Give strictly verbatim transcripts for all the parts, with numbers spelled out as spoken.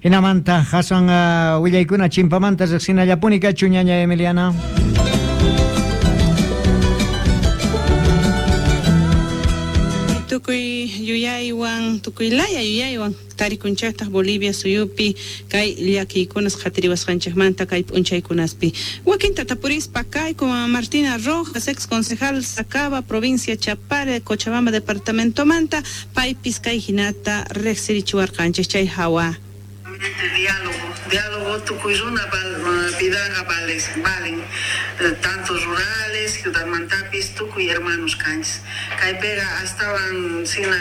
Hinamanta hasan uh, willaykuna chimpamanta riqsinallapuni kachu ñaña Emiliana. Tukuy yuyaywan, tukuy laya yuyaywan tarikunchiktaq Bolivia suyupi kay llakiykunas qhatiriwasqanchikmanta kay p'unchaykunaspi. Wakinta tapurispa kayku Martina Rojas, ex concejal Sacaba, provincia Chapare, Cochabamba departamentomanta, paypis kay hinata riqsirichiwarqanchik chay hawa. Diálogo, diálogo tukuy runa vidaqa vales, valen, tanto rurales, ciudadmantapis, tukuy hermanos kanchis. Kaypiqa astawan sina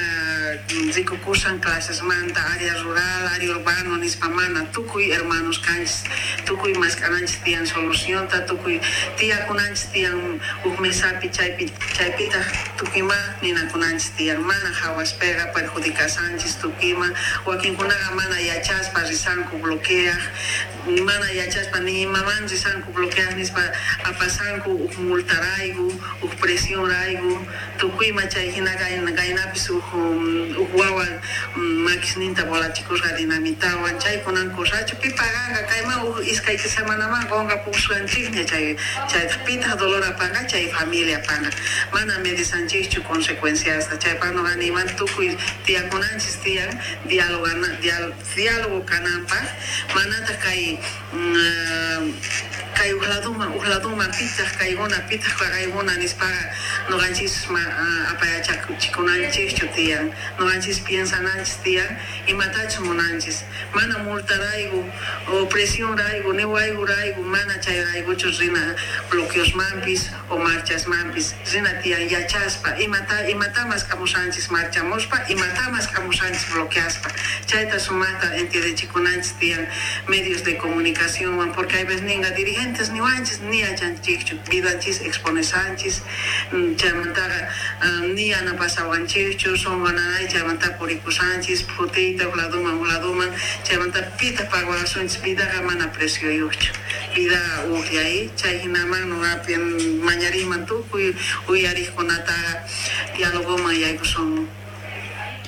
rikukusan clasesmanta, área rural, área urbano nispa mana, tukuy hermanos kanchis, tukuy mask'ananchis tiyan solucionta, tukuy tiyakunanchis tiyan huk mesapi chaypi, chaypitaq tukuyma ninakunanchis tiyan, mana hawaspiqa perjudicasanchis tukuyma, wakinkunaqa mana yachaspa risanku bloqueaq, mana yachaspa ni imaman risanku bloqueaq nispa apasanku huk multarayku, huk presionrayku, tukuyma chay hina kaynapis huk huk wawa makisninta volachikusqa dinamitawan, chaykunan kusachu pi paganqa kayman huk iskay semanaman qunqapusqanchikña chay chaytaq pitaq dolor apanqa chay familia apanqa, mana medisanchikchu consecuenciasta, chaypaq nuqa niyman tukuy tiyakunanchis tiyan dialogana diálogo kananpaq, manataq kay kay huk laduman huk laduman pitaq kaykuna pitaq kaykuna nispaqa nuqanchis apayachikunanchikchu tiyan, nuqanchis piensananchis tiyan imatachus munanchis, mana multarayku o presionrayku ni wayrayku mana chayraykuchu rina bloqueosmanpis o marchasmanpis, rina tiyan yachaspa imata imata maskamusanchis marchamuspa, imata maskamusanchis bloqueaspa, chayta sumaqta entiendechikunanchis tiyan medios de comunicacionwan, porque hay veces ninga dirigentes niwanchis ni yachanchikchu, vidanchis exponesanchis, chaymantaqa ni yanapasawanchikchu, sunqu nanay chaymanta purikusanchis phutiyta huk laduman huk laduman, chaymanta pitaq pagawasunchis, vidaqa mana precioyuqchu, vida uqllay, chay hinaman nuqapi mañariyman tukuy uyariqkunataqa dialogoman yaykusun.